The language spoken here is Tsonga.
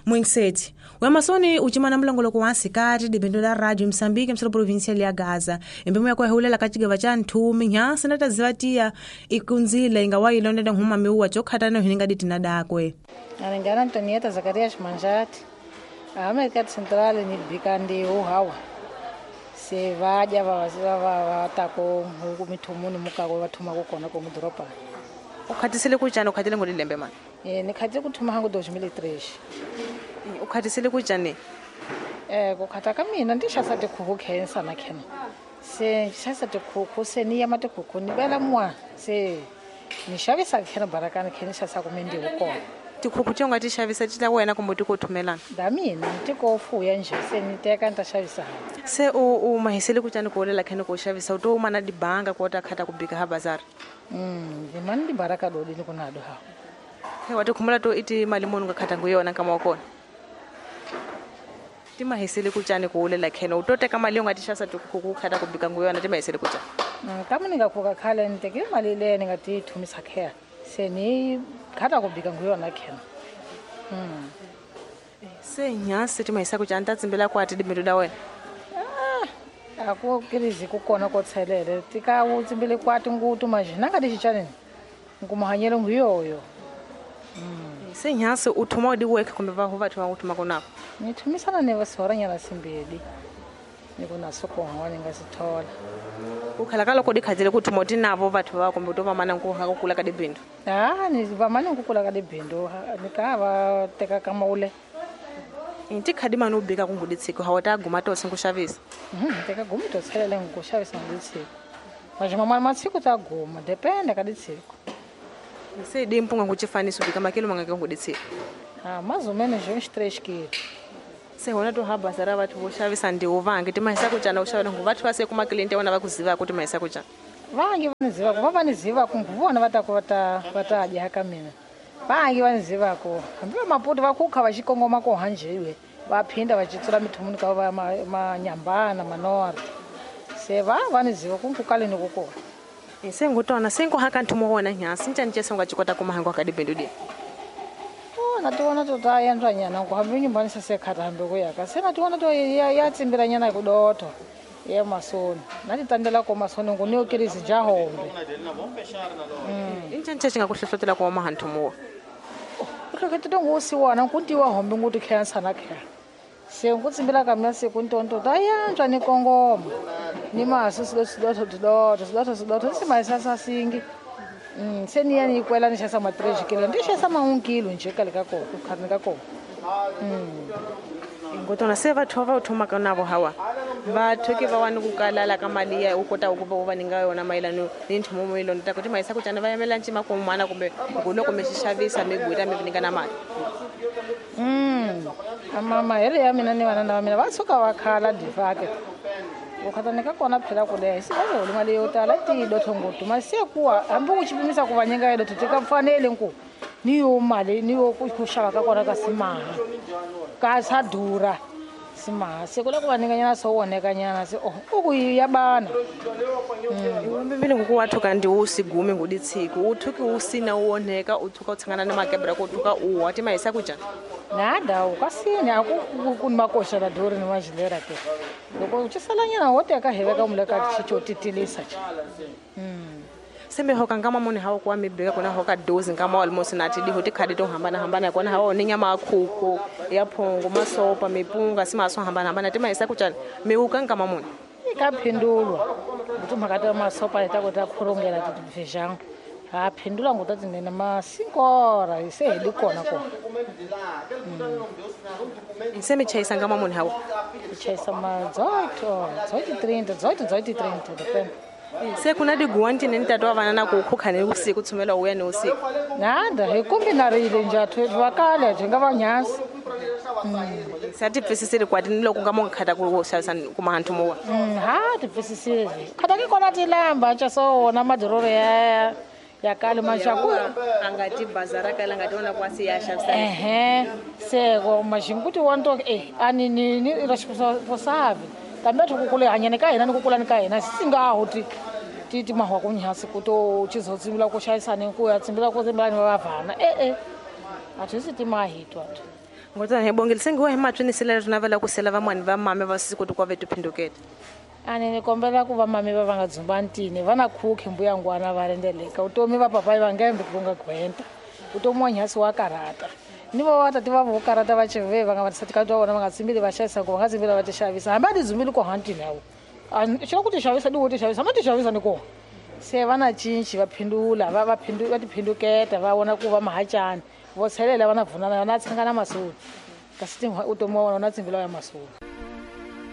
Muingiseti wa masoni u cimana mulongoloko wa nsikati dibendo la radio Msambiki msolo provincia ya Gaza embemo ya kwahulela ka cigeva ca nthumi nyansi na taziva tiya ikunzile inga wa ilonda nhuma miuwa cokhatana hininga ditina dakwe. Alingana Antonieta Zacarias Manjati América Central ni bikandi uhawa se vaja va ta ko huku mithumuni mukako va thuma ku kona ko mudoropa. U khatisele ku cana u khatile ngoli lembe mani? Ni khatile ku thuma hangu 2003. U khatisele ku cani? Ku khata ka mina ndi xasa tikhuku khensa na khena. Se xasa tikhuku se ni yama tikhuku ni bela mwa se ni xavisa khena barakani khena xasa ku mindi wu kona. Tikhuku ti nga ti xavisa ti la wena kumbe ti ko thumelana? Da mina ti ko fuya nje se ni teka ni ta xavisa. Se u mahisele ku cani ku olela khena ku xavisa u to mana dibanga ku ta khata ku bika ha bazar? Ni mani di baraka do ni ku na do ha. He wa tikhumula to iti mali muni nga khata ngu yona nkama wa kona? Ti mahisele ku cani ku olela khena u to teka mali yo nga ti xavisa tikhuku ku khata ku bika ngu yona ti mahisele ku cani? Ka muni nga khuka khale ni teke mali leyi ni nga ti thumisa khena. Se ni khata ku bika ngu yona khena. Se nyasi ti mahisa ku cani ta tsimbela kwati dibindu da wena? A ku kirizi ku kona ko tshelele ti ka wu tsimbele kwati ngutu majina nga ti xichaneni nkumahanyelo ngu yoyo. Se nyasi u thuma di work kumbe va vathu va ku thuma kona? Ni thumisana ne vasoranyana simbedi ni ku na soko hwa ni nga si thola. U khala ka loko di khatile ku thuma ti navo vathu va kumbe to va mana ku ha ku kula ka dibindu? Ni va mana ku kula ka dibindu ni ka va teka ka maule. Ti khadi mani u bika ku ngudi tshiko ha wa ta guma to ku xavisa? Teka guma to tshelele ku xavisa ngudi tshiko. Majima mali matshiko ta guma depende ka ditshiko. Se di mpunga ku chifaniso bika makilo manga ka ngudi tshiko. Mais ou menos uns 3 quilos. Se hona to haba sara vathu vo xavisa ndiwo vange ti mahisa ku cana u xavela ngu vathu va se kuma client ya vona va ku ziva ku ti mahisa ku cana. Vange va ni ziva ku va ni ziva ku vona va ta ku va ta dya ka mina. Vange va ni ziva ku hambi va maputi va kukha va xikongoma ko hanjiwe va phinda va citsula mithumuni ka va manyambana manora. Se va ni ziva ku kale ni ku kona. Se ngutona se nko haka nthumo wona nyasi ncani cese nga chikota kuma hango ka dibindu di. Na tiona to ta yandra nyana ku hambi nyumbani se khata hambi ku yaka se na tiona to ya tsimbira nyana ku doto ya masoni na ti tandela ko masoni ngu ni okirizi ja hombe. Incani cese nga ku hlohlotela ku ma hanthumo. Ku hlohlotela ngu si wona ku tiwa hombe ngu ti khensa na kha. Se ngu tsimbira ka mina se ku ntonto ta yandra ni kongoma. Ni maso sidoto sidoto sidoto sidoto se maisa sa singi. Se ni ya ni kwela ni xasa ma 3 kilo ndi xasa ma 1 kilo nje kale ka ko ku khani ka ko. Ngotona se vathu va u thoma ka navo hawa vathu ke va wani ku kalala ka mali ya u kota ku va u va ninga yona mayelano ni nthumo mo ilonda ta ku ti mahisa ku cana va yimela ncima ku mana kumbe nguloko mi xavisa mi guta mi ninga na mali. Ama mahele ya mina ni vana na mina va tshuka va khala difake. Ukhatani ka kona phela ku leha si va holi mali yo tala ti dotho ngutu masi kuwa hambi u chipimisa ku va nyinga dotho tika fanele nku ni yo mali ni yo ku xava ka kona ka simaha ka sa dura simaha se kula ku va nyinga nyana so woneka nyana se oh ku ya bana. Mbili nguku wathu kandi u sigume nguditsiko u thuki u sina u woneka u thuka u tshangana na makebra ku thuka u wa ti mahisa ku jana. Nada u kasini aku ku makosha la dori ni majilera ke. Loko u chisalanyana wo teka heveka muleka chicho titilisa. Se me hoka nkama muni hawo kwa mibeka kona hoka dozi nkama almost na ti diho ti khadi to hambana hambana kona hawo ni nyama khuku ya phongo masopa mipunga simaso hambana hambana ti mahisa ku cana mi uka nkama muni. Ka phindulwa kutumhaka ta masopa ta ku ta khurungela ti feijão. Ha phindula ngo tati nene ma 5 horas se heli kona ko. Se mi chayisa nkama muni hawo? Chayisa ma 18, 18, 18, 30 depende. Se kuna diguanti ni ntatu wa vana na ku khukha ni usiku tsumela uya ni usiku. Nada hi kombinarile njathu va kale byi nga va nyasi. Se ti pfisisile kwati ni loko nga mo khata ku xavisa ku mahanthu mo wa. Ha ti pfisisile. Khata ke kona ti lamba cha so wona madororo ya kale maxaku a nga ti bazara kala nga tiona kwasi ya xavisa. Se go maxinguti wa nto ani ni responsable. Kambe ku kula hanyane ka hina ni ku kula ni ka hina singa ho ti ti mahwa ku nyasi ku to chizotsimbila ku xavisani ku ya tsimbila ku tsimbila ni va vana a thi si ti mahitwa. Ngotana hi bongile sengiwa hi matswini sela ri navela ku sela van'wani va mame va siku tikwa vetu phinduketa. A ni ni kombela ku va mame va va nga dzumbantini va na khukhi mbuya ngwana va rendeleka vutomi va papayi va ngembe ku nga gwenta vutomi wa nyhasi wa karhata ni vo vatati va vo karhata va cheve va nga vatisati ka vona va nga tsimbili va xavisa ku va nga tsimbili va ti xavisa hambi a ti dzumbili ko hantini yawo xi ku ti xavisa ni wo ti xavisa ma ti xavisa ni kona se va na cinci va phindula va va va ti phinduketa va vona ku va mahacani vo tshelela va na vunana na tshangana masoni kasi vutomi wa vona na tsimbila ya masoni.